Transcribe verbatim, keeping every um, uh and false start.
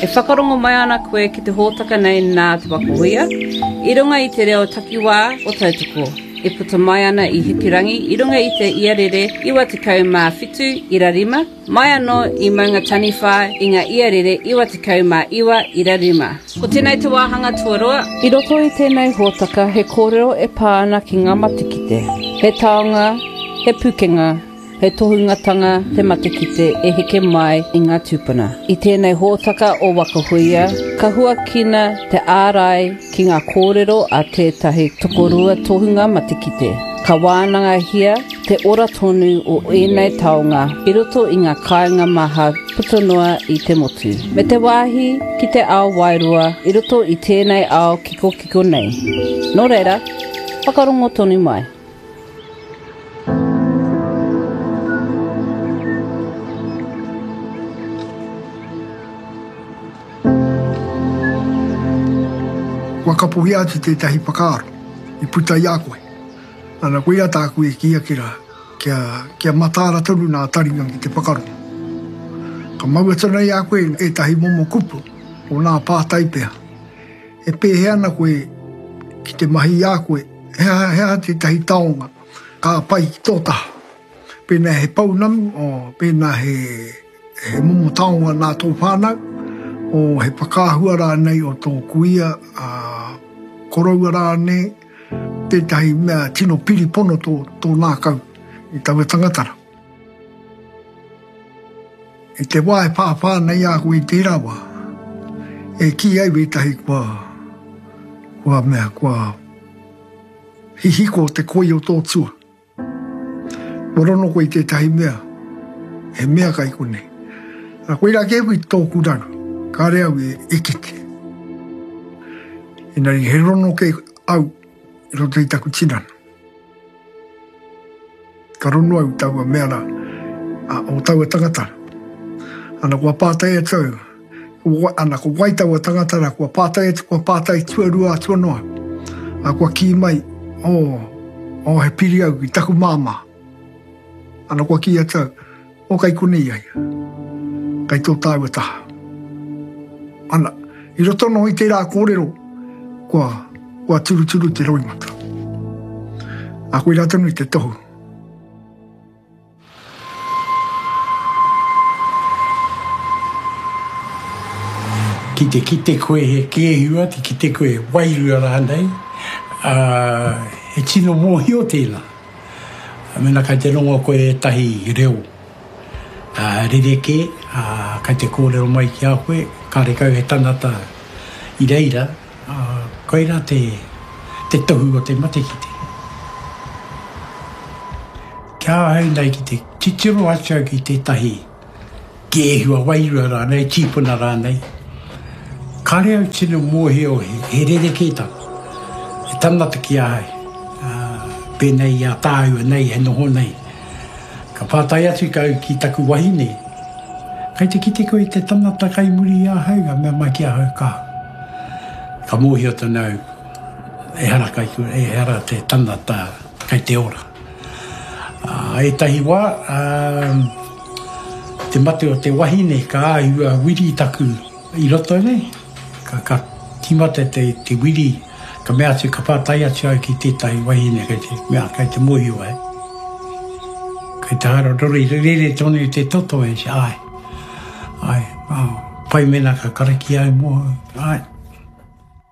E whakarongo mai ana koe ki te hōtaka nei nā Te Waka Huia, i runga i te reo takiwā o Tautoko. E puta mai ana i Hikurangi i runga i te iarere iwa tekau mā whitu ira rima, mai anō i Maunga Taniwha i ngā iarere iwa tekau mā iwa ira rima. Ko tēnei te wāhanga tuarua. I roto i tēnei hōtaka he kōrero e pā ana ki ngā matekite. He taonga, he pukenga, he tohungatanga te matekite e heke mai i ngā tūpuna. I tēnei hōtaka o Waka Huia, ka huakina te ārai ki ngā kōrero a tētahi tokorua tohunga matekite. Ka wānangahia te ora tonu o ēnei taonga i roto i ngā kāinga maha puta noa i te motu. Me te wāhi ki te ao wairua i roto i tēnei ao kikokiko nei. Nō reira, whakarongo tonu mai. Kua kapohia atu tētahi whakaaro i puta i a koe. Ana, koia tāku e kī ake rā, kia, kia mataara tonu nā taringa ki te whakarongo. Ka mau atu nei a koe ētahi momo kupu o nā pātai pea. E pēhea ana koe ki te mahi i a koe, he aha, he aha tētahi taonga ka pai ki tō taha. Pēnā he pounamu, o, pēnā he, he momo taonga nā tō whānau, o he whakaahua rānei o tō kuia, a, koroua rānei, tētahi mea tino piripono tō, tō nākau i taua tangata rā. I te wā e whāwhā nei a koe i tērā wā, e kī ai wētahi kua, kua mea, kua hihiko te koi o tō tua. Kua rono koe i tētahi mea, he mea kai konei. A koira kē koe i tōku raru, kāre au e, e kite. Engari he rono kē au i roto i taku tinana. Ka rono au taua mea rā, a, o taua tangata. Ana kua pātai atu au, ana ko wai taua tangata rā, kua pātai atu, kua pātai tuarua atu anō au. A kua kī mai, oh, oh, he piri au ki taku māmā. Ana kua kī atu au, o kai konei ai, kai tō tāua taha. Ana, i roto noho i tērā kōrero, kua, kua turuturu te roimata. A koe rā tonu i te tohu. Ki te kite koe he kēhua, te kite koe he wairua rānei, uh, he tino mōhio tēnā. Mena kai te rongo koe ētahi reo uh, rerekē, uh, kai te kōrero mai ki a koe, karekau he tangata i reira, uh, koira te, te tohu o te matekite. Kia ahau nei ki te titiro atu au ki tētahi kēhua wairua rānei, tīpuna rānei, kāre au tino mōhio he, he rerekētanga. He tangata ki ahau, uh, pēnei i a tāua nei, he noho nei. Ka pātai atu kau ki taku wahine, kai te kite koe i te tangata kai muri i ahau, ka mea mai ki ahau ka. Ka mōhio tonu au, ehara kai, ehara te tangata kai te ora. Uh, ētahi wā, uh, te mate o te wahine ka āhua wiri taku i roto nei. Ka, ka tīmata te, te wiri, ka mea atu, ka pātai atu au ki tētahi wahine kai te mea, kai te mōhio ai. Kai te haere rori, rere tonu te toto e, ai, ai, oh, pai mena ka karakia au mō, ai.